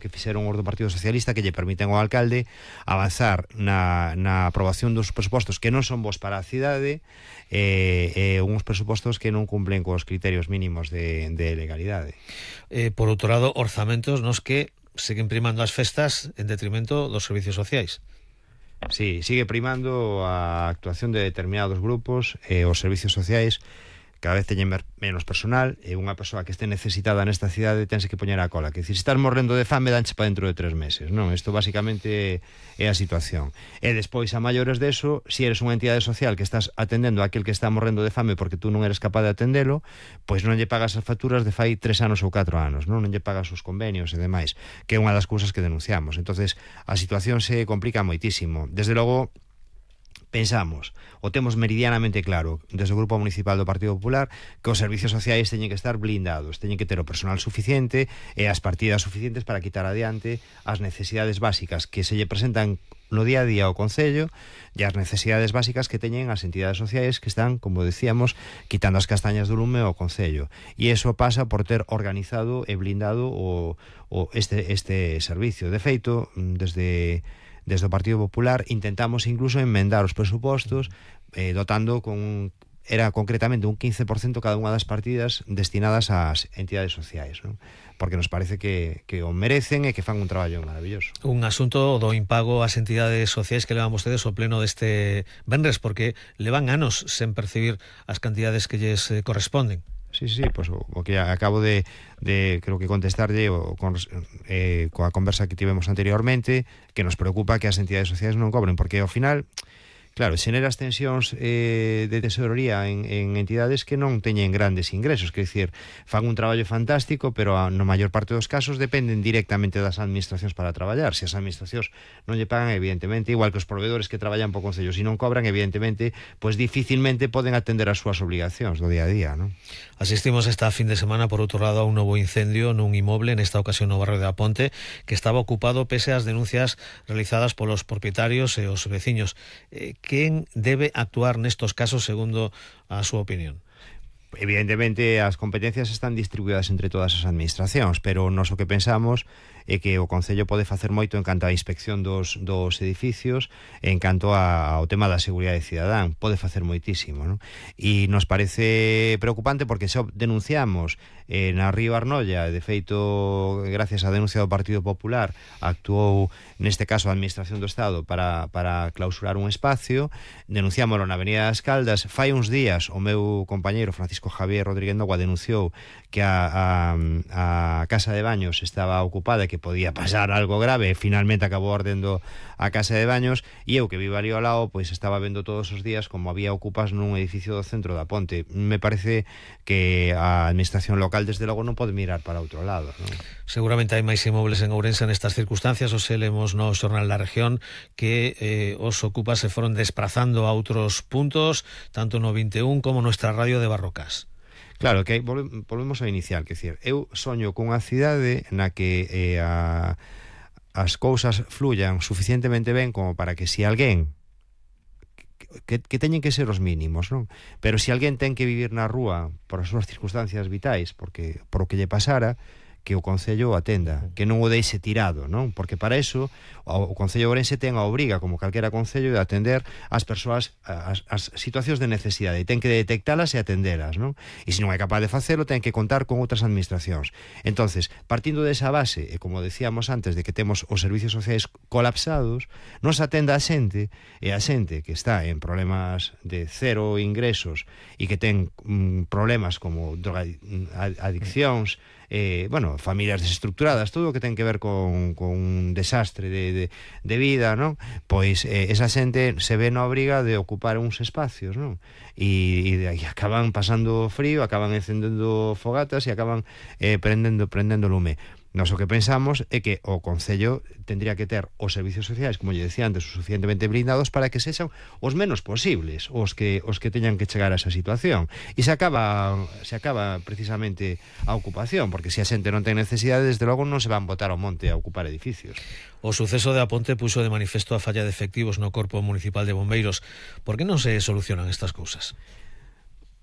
que fixeron os do Partido Socialista que lle permiten ao alcalde avanzar na aprobación dos presupostos que non son bons para a cidade, uns presupostos que non cumplen cos criterios mínimos de legalidade. Por outro lado, orzamentos nos que seguen primando as festas en detrimento dos servicios sociais. Sí, sigue primando a actuación de determinados grupos, os servicios sociais cada vez teñen menos personal, e unha persoa que este necesitada nesta cidade tense que poñer a cola, que se estás morrendo de fame danche para dentro de 3 meses, non? Isto basicamente é a situación. E despois, a maiores deso, se eres unha entidade social que estás atendendo a aquel que está morrendo de fame porque tú non eres capaz de atendelo, pois non lle pagas as facturas de fai 3 anos ou 4 anos, non lle pagas os convenios e demais, que é unha das cousas que denunciamos. Entonces, a situación se complica moitísimo. Desde logo, pensamos, o temos meridianamente claro desde o Grupo Municipal do Partido Popular, que os servicios sociais teñen que estar blindados, teñen que ter o personal suficiente e as partidas suficientes para quitar adiante as necesidades básicas que se lle presentan no día a día ao Concello e as necesidades básicas que teñen as entidades sociais que están, como decíamos, quitando as castañas do lume ao Concello. E iso pasa por ter organizado e blindado este servicio. De feito, desde o Partido Popular intentamos incluso enmendar os presupostos dotando era concretamente un 15% cada unha das partidas destinadas ás entidades sociais, non? Porque nos parece que o merecen e que fan un traballo maravilloso. Un asunto do impago ás entidades sociais que levan vostedes ao pleno deste venres, porque levan anos sen percibir as cantidades que lles corresponden. Sí, pois o que acabo de creo que contestarlle coa conversa que tivemos anteriormente, que nos preocupa que as entidades sociais non cobren, porque ao final, claro, xeneras tensións de tesorería en entidades que non teñen grandes ingresos, que decir, fan un traballo fantástico, pero no maior parte dos casos dependen directamente das administracións para traballar. Se as administracións non lle pagan, evidentemente, igual que os proveedores que traballan po Concello, se non cobran, evidentemente, pois dificilmente poden atender as súas obligacións do día a día, non? Asistimos esta fin de semana, por outro lado, a un novo incendio nun inmoble, nesta ocasión no barrio de Aponte, que estaba ocupado pese ás denuncias realizadas polos propietarios e os veciños. Quen debe actuar nestos casos, segundo a súa opinión? Evidentemente, as competencias están distribuídas entre todas as administracións, pero nós o que pensamos é que o Concello pode facer moito en canto á inspección dos edificios, en canto ao tema da seguridade cidadán, pode facer moitísimo, non? E nos parece preocupante porque xa denunciamos na Río Arnolla, de feito, gracias á denuncia do Partido Popular, actuou neste caso a Administración do Estado para clausurar un espacio, denunciámoslo na Avenida das Caldas. Fai uns días o meu compañeiro Francisco Javier Rodríguez Nogua denunciou que a casa de baños estaba ocupada e que podía pasar algo grave, e finalmente acabou ardendo a casa de baños, e eu que vivo ali ao lado, pois estaba vendo todos os días como había ocupas nun edificio do centro da Ponte. Me parece que a administración local desde logo non pode mirar para outro lado, non? Seguramente hai máis inmobles en Ourense nestas circunstancias. Os lemos no Xornal da Región que os ocupas se foron desprazando a outros puntos, tanto no 21 como nuestra radio de Barrocas. Claro, que volvemos ao inicial, que decir, eu soño cunha cidade na que as cousas fluyan suficientemente ben como para que se alguén que teñen que ser os mínimos, non? Pero se alguén ten que vivir na rúa por as súas circunstancias vitais, por o que lle pasara, que o Concello o atenda, que non o deixe tirado, non? Porque para eso o Concello de Ourense ten a obriga, como calquera concello, de atender as persoas as situacións de necesidade, e ten que detectalas e atendelas, non? E se non é capaz de facelo, ten que contar con outras administracións. Entonces, partindo desa base, e como decíamos antes, de que temos os servicios sociais colapsados, nos atenda a xente, e a xente que está en problemas de cero ingresos e que ten problemas como adiccións, familias desestructuradas, todo o que ten que ver con un desastre de vida, non? Pois esa xente se ve na obriga de ocupar uns espacios, non? E acaban pasando frío, acaban encendendo fogatas e acaban prendendo lume. Nós o que pensamos é que o Concello tendría que ter os servicios sociais, como lle decía antes, suficientemente blindados para que sexan os menos posibles os que teñan que chegar a esa situación. E se acaba precisamente a ocupación, porque se a xente non ten necesidade, desde logo non se van botar ao monte a ocupar edificios. O suceso de Aponte puxo de manifesto a falla de efectivos no Corpo Municipal de Bombeiros. Por que non se solucionan estas cousas?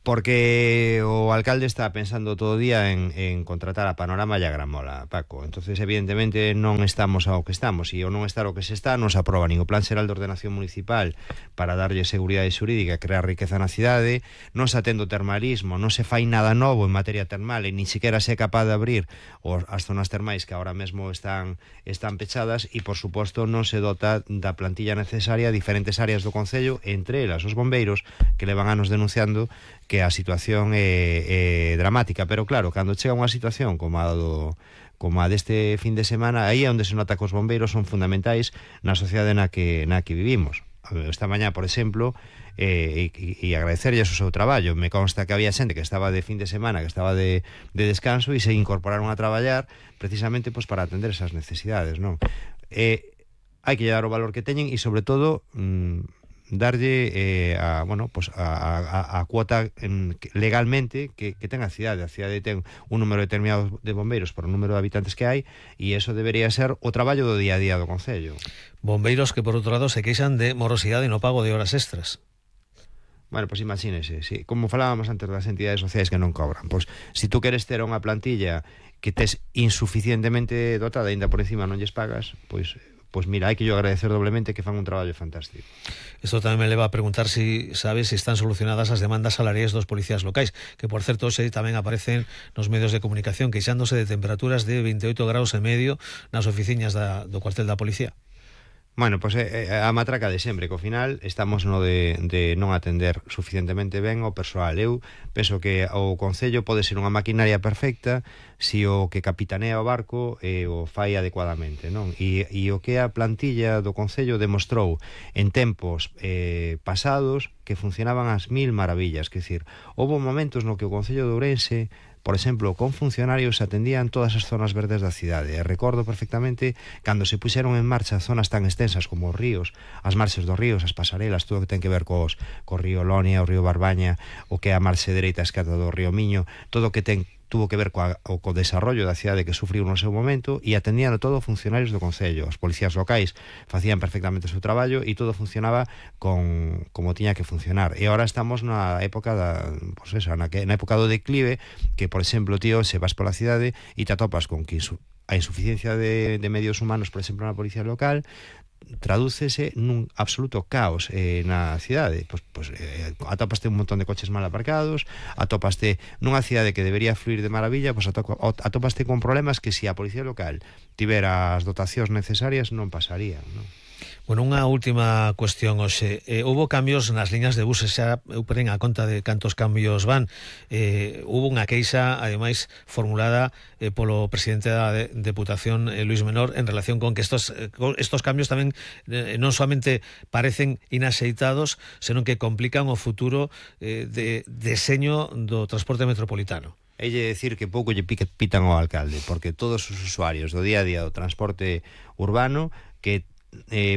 Porque o alcalde está pensando todo o día en contratar a Panorama e a Gramola, Paco. Entonces, evidentemente, non estamos ao que estamos. E o non estar ao que se está non se aproba nin o Plan Xeral de Ordenación Municipal para darlle seguridade xurídica e crear riqueza na cidade, non se atende o termalismo, non se fai nada novo en materia termal e ni siquiera se é capaz de abrir as zonas termais que ahora mesmo están pechadas e, por suposto, non se dota da plantilla necesaria a diferentes áreas do Concello, entre elas os bombeiros, que levan anos denunciando que a situación é dramática, pero claro, cando chega unha situación como a deste fin de semana, aí é onde se nota que os bombeiros son fundamentais na sociedade na que vivimos. Esta mañá, por exemplo, e agradecerlles o seu traballo, me consta que había xente que estaba de fin de semana, que estaba de descanso e se incorporaron a traballar precisamente pues, para atender esas necesidades, non? Hai que dar o valor que teñen e, sobre todo, darlle a cuota legalmente que ten a cidade. A cidade ten un número determinado de bombeiros por o número de habitantes que hai e eso debería ser o traballo do día a día do Concello. Bombeiros que, por outro lado, se queixan de morosidade no pago de horas extras. Bueno, pois imagínese, sí, como falábamos antes das entidades sociais que non cobran, pois se tú queres ter unha plantilla que tes insuficientemente dotada, ainda por encima non lles pagas, pois mira, hai que yo agradecer doblemente que fan un traballo fantástico. Isto tamén me leva a preguntar si sabes se están solucionadas as demandas salariais dos policías locais, que por certo hoxe tamén aparecen nos medios de comunicación queixándose de temperaturas de 28 graus e medio nas oficinas do cuartel da policía. Bueno, pois a matraca de sempre, que ao final estamos no de non atender suficientemente ben ao persoal. Eu penso que o Concello pode ser unha maquinaria perfecta se o que capitanea o barco o fai adecuadamente, non? E o que a plantilla do Concello demostrou en tempos pasados que funcionaban as mil maravillas, que decir, houve momentos no que o Concello de Ourense, por exemplo, con funcionarios atendían todas as zonas verdes da cidade. E recordo perfectamente cando se puxeron en marcha zonas tan extensas como os ríos, as marxes dos ríos, as pasarelas, todo o que ten que ver co río Lonia, o río Barbaña, o que é a marxe dereita escata do río Miño, todo o que tuvo que ver co desarrollo da cidade que sufriu no seu momento, e atendían todo funcionarios do Concello. Os policías locais facían perfectamente o seu traballo e todo funcionaba como tiña que funcionar. E agora estamos na época na época do declive, que, por exemplo, tío, se vas pola cidade e te atopas con que a insuficiencia de medios humanos, por exemplo, na policía local, tradúcese nun absoluto caos na cidade. Atopaste un montón de coches mal aparcados, atopaste nunha cidade que debería fluir de maravilla, atopaste con problemas que se a policía local tivera as dotacións necesarias non pasarían, non? Bueno, unha última cuestión, hoxe. Houve cambios nas liñas de buses, xa eu perden a conta de cantos cambios van. Houve unha queixa, ademais, formulada polo presidente da Deputación, Luis Menor, en relación con que estos cambios tamén non solamente parecen inaxeitados, senón que complican o futuro de deseño do transporte metropolitano. É decir que pouco lle pitan ao alcalde, porque todos os usuarios do día a día do transporte urbano que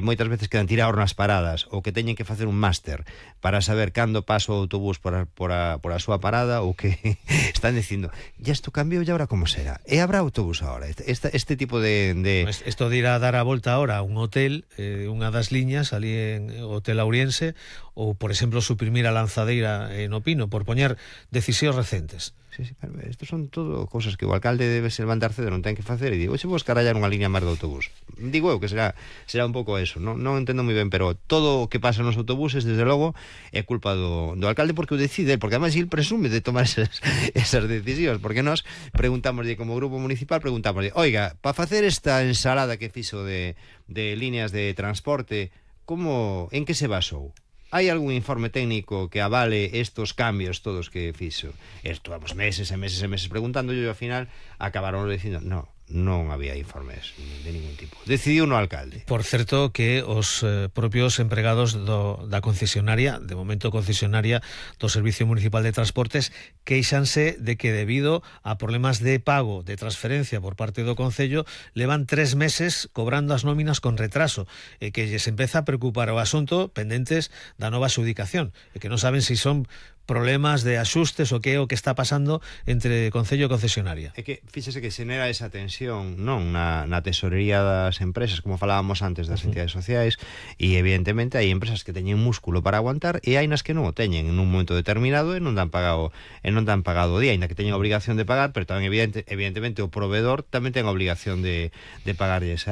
moitas veces quedan tirados nas paradas ou que teñen que facer un máster para saber cando pasa o autobús por a súa parada, ou que están dicindo, ya isto cambiou, e agora como será? E habrá autobús agora? Este tipo de... Isto de ir a dar a volta ahora a un hotel, unha das liñas ali en Hotel Auriense, ou, por exemplo, suprimir a lanzadeira no Pino, por poñer decisións recentes. Sí, isto son todo cousas que o alcalde debe se levantar cedo, non ten que facer, e digo, xe vos carallar unha liña máis de autobús. Digo eu que será un pouco eso, non entendo moi ben, pero todo o que pasa nos autobuses, desde logo, é culpa do alcalde, porque o decide, porque además il presume de tomar esas decisións, porque nós preguntámoslle como grupo municipal, preguntámoslle, oiga, para facer esta ensalada que fixo de líneas de transporte, en que se basou? Hai algún informe técnico que avale estos cambios todos que fixo? Estuvamos meses e meses e meses preguntando, e ao final acabaron dicindo, non había informes de ningún tipo. Decidiu no alcalde. Por certo que os propios empregados da concesionaria, de momento concesionaria do Servicio Municipal de Transportes, queixanse de que debido a problemas de pago de transferencia por parte do Concello levan 3 meses cobrando as nóminas con retraso, e que lles empeza a preocupar o asunto pendentes da nova adxudicación, e que non saben se son problemas de axustes o que é o que está pasando entre Concello e concesionaria. É que fíxese que xenera esa tensión non na tesorería das empresas, como falábamos antes das entidades sociais, e evidentemente hai empresas que teñen músculo para aguantar e hai nas que non o teñen en un momento determinado e non dan pagado o día, ainda que teñen a obrigación de pagar, pero tamén evidentemente o proveedor tamén ten a obrigación de pagarlles a